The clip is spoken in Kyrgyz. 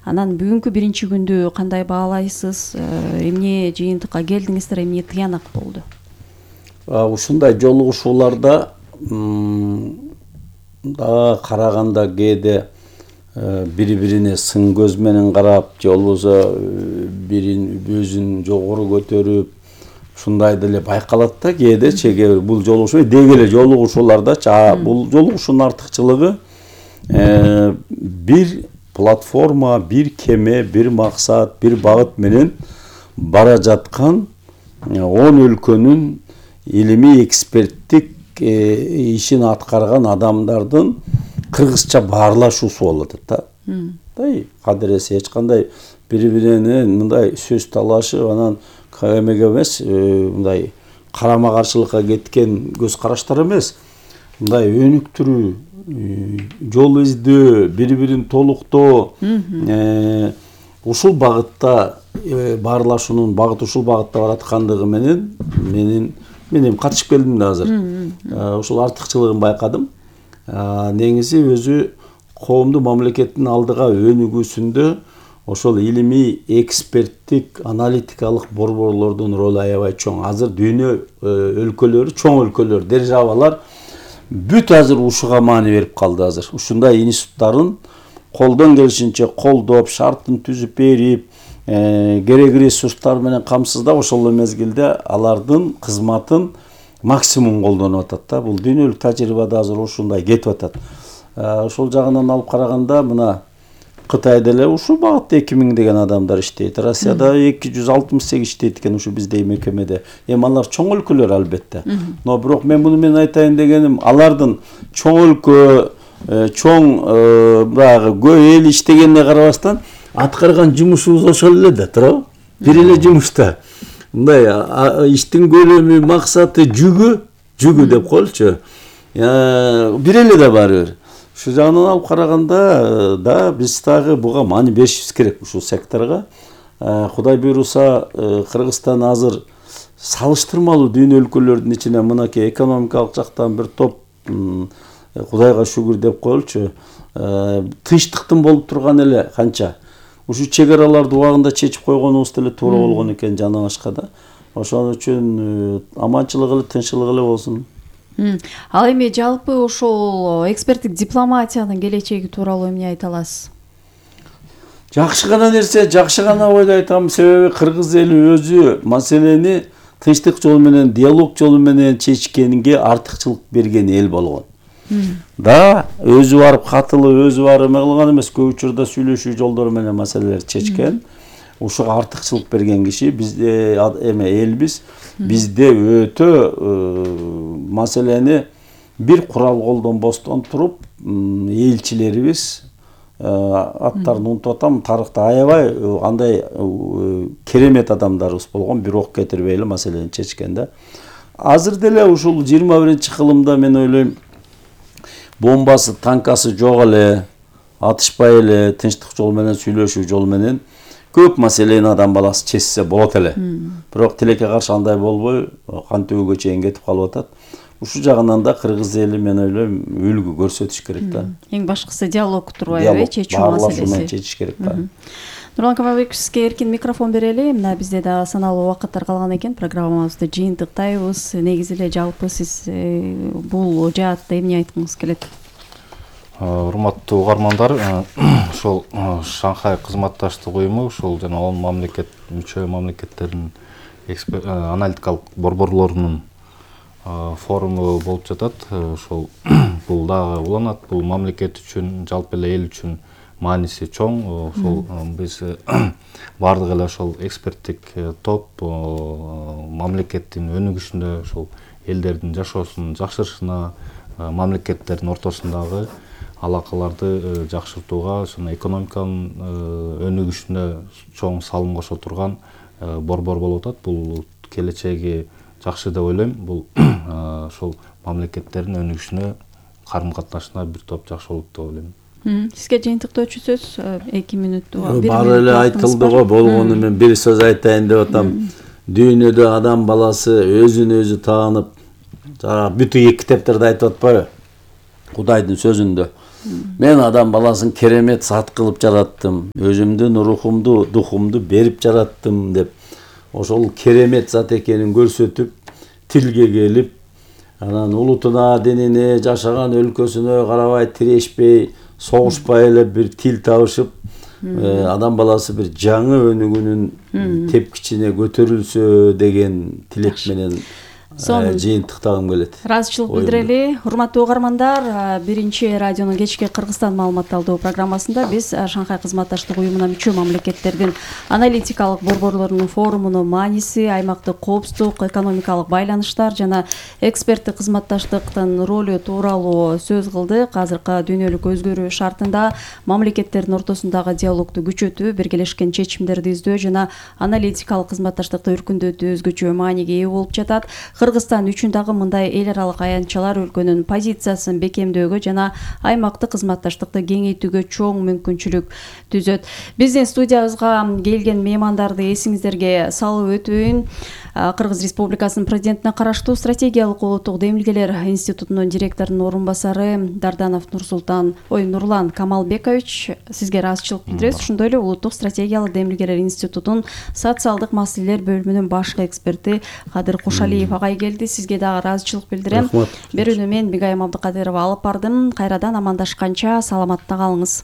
Анан бүгүнкү биринчи күндү кандай баалайсыз? Эмне жыйынтыкка келдиңиздер, эмне тыянак болду? Ушундай жолугушууларда да караганда кээде бири-бирине сын көз менен карап, же болбосо бирин өзүн жогору көтөрүп, ушундай деле байкалат да кээде чеге бул жолугушуу деги эле жолугушуулардачы. Бул жолугушуунун артыкчылыгы бир платформа, бир кеме, бир максат, бир багыт менен бара жаткан 10 өлкөнүн илимий эксперттик ишин аткарган адамдардын кыргызча баарлашуусу болот да. Кадыресе эч кандай бири-бирине мындай сөз талашып, анан эмеге эмес, мындай карама каршылыкка кеткен көз караштар эмес. Мындай өнүктүрүү, жол издөө, бири-бирин толуктоо, ушул багытта баарлашуунун багыты ушул багытта бараткандыгы менен мен катышып келдим да азыр. Ушул артыкчылыгын байкадым. Негизи өзү коомду мамлекеттин алдыга өнүгүүсүндө ошол илимий эксперттик аналитикалык борборлордун ролу аябай чоң. Азыр дүйнө өлкөлөрү, чоң өлкөлөр, державалар бүт азыр ушуга маани берип калды азыр. Ушундай институттарын колдон келишинче колдоп, шартын түзүп берип, керек ресурстар менен камсыздап, ошол мезгилде алардын кызматын максимум колдонуп атат да. Бул дүйнөлүк тажрыйбада азыр ушундай кетип атат. Ошол жагынан алып караганда мына Кытайда эле ушул багытта 2000 деген адамдар иштейт. Россияда 268 иштейт экен ушу биздей мекемеде. Алар чоң өлкөлөр албетте. Но бирок мен муну менен айтайын дегеним, алардын чоң өлкө, чоң багы эл иштегенине карабастан аткарган жумушубуз ошол эле да, туурабы? Бир эле жумушта. Мындай иштин көлөмү, максаты, жүгү деп коелучу. Бир эле да баары бир. Ушул жагынан алып караганда да биз дагы буга маани беришибиз керек ушул секторго. Кудай буйруса, Кыргызстан азыр салыштырмалуу дүйнө өлкөлөрүнүн ичине мынакей экономикалык жактан бир топ, Кудайга шүгүр деп коелучу, тынчтыктын болуп турган эле канча. Ушу чек араларды убагында чечип койгонубуз деле туура болгон экен жана башка да. Ошон үчүн аманчылык эле, тынччылык эле болсун. Ал эми жалпы ошол эксперттик дипломатиянын келечеги тууралуу эмне айта аласыз? Жакшы гана нерсе, жакшы гана ойду айтам. Себеби кыргыз эли өзү маселени тынчтык жолу менен, диалог жолу менен чечкенге артыкчылык берген эл болгон. Да, өзү барып катылып, өзү барып эме кылган эмес, көп учурда сүйлөшүү жолдору менен маселелерди чечкен. Ушуга артыкчылык берген киши бизде элбиз. Бизде өтө маселени бир курал колдонбостон туруп, элчилерибиз, аттарын унутуп атам, тарыхта аябай андай керемет адамдарыбыз болгон, бир ок кетирбей эле маселени чечкен да. Азыр деле ушул 21-кылымда мен ойлойм, бомбасы, танкасы жок эле, атышпай эле, тынчтык жолу менен, сүйлөшүү жолу менен көп маселени адам баласы чечсе болот эле. Бирок тилекке каршы андай болбой, кан төгүүгө чейин кетип калып атат. Ушул жагынан да кыргыз эли мен ойлойм үлгү көрсөтүш керек да. Эң башкысы диалог турбайбы, чечүү маселеси. Чечиш керек да. Нурлан Камалбекович, сизге эркин микрофон берели. Мына бизде да саналуу убакыттар калган экен. Программабызды жыйынтыктайбыз. Негизи эле жалпы сиз бул жаатта эмне айткыңыз келет? Урматтуу угармандар, ошол Шанхай кызматташтык уюму ушул жана 10 мамлекет, мүчө мамлекеттердин аналитикалык борборлорунун форуму болуп жатат. Ошол бул дагы уланат, бул мамлекет үчүн, жалпы эле эл үчүн мааниси чоң. Ошол биз бардык эле ошол эксперттик топ мамлекеттин өнүгүшүндө, ошол элдердин жашоосунун жакшырышына, мамлекеттердин ортосундагы алакаларды жакшыртууга, ошону экономиканын өнүгүшүнө чоң салым кошо турган борбор болуп атат. Бул келечеги жакшы деп ойлойм. Бул ошол мамлекеттердин өнүгүшүнө, карым катнашына бир топ жакшы болот деп ойлойм. Сизге жыйынтыктоочу сөз 2 мүнөттү. Баары эле айтылды го, болгону мен бир сөз айтайын деп атам. Дүйнөдө адам баласы өзүн өзү таанып, бүтүн китептерде айтып атпайбы? Кудайдын сөзүндө. Мен адам баласын керемет зат кылып жараттым, өзүмдүн рухумду, духумду берип жараттым деп ошол керемет зат экенин көрсөтүп, тилге келип, анан улутуна, динине, жашаган өлкөсүнө карабай тирешпей, согушпай эле бир тил табышып, адам баласы бир жаңы өнүгүүнүн тепкичине көтөрүлсө деген тилек менен жыйынтыктагым келет. Ыраазычылык билдирели. Урматтуу угармандар, биринчи радионун кечки Кыргызстан маалыматталдоо программасында биз Шанхай кызматташтык уюмуна мүчө мамлекеттердин аналитикалык борборлорунун форумунун мааниси, аймактык коопсуздук, экономикалык байланыштар жана эксперттик кызматташтыктын ролу тууралуу сөз кылдык. Азыркы дүйнөлүк өзгөрүү шартында мамлекеттердин ортосундагы диалогду күчөтүү, биргелешкен чечимдерди издөө жана аналитикалык кызматташтыкты өркүндөтүү өзгөчө мааниге ээ болуп жатат. Кыргызстан үчүн дагы мындай эл аралык аянтчалар өлкөнүн позициясын бекемдөөгө жана аймактык кызматташтыкты кеңейтүүгө чоң мүмкүнчүлүк түзөт. Биздин студиябызга келген меймандарды эсиңиздерге салып өтөйүн. Кыргыз Республикасынын президентине караштуу стратегиялык улуттук демилгелер институтунун директорунун орун басары Дарданов Нурлан Камалбекович сизге ыраазычылык билдиребиз. Ошондой эле улуттук стратегиялык демилгелер институтунун социалдык маселелер бөлүмүнүн башкы эксперти Кадыр Кушалиев агай келди. Сизге дагы ыраазычылык билдирем. Берүүнү мен Бигайым Абдыкадырова алып бардым. Кайрадан амандашканча саламатта калыңыз.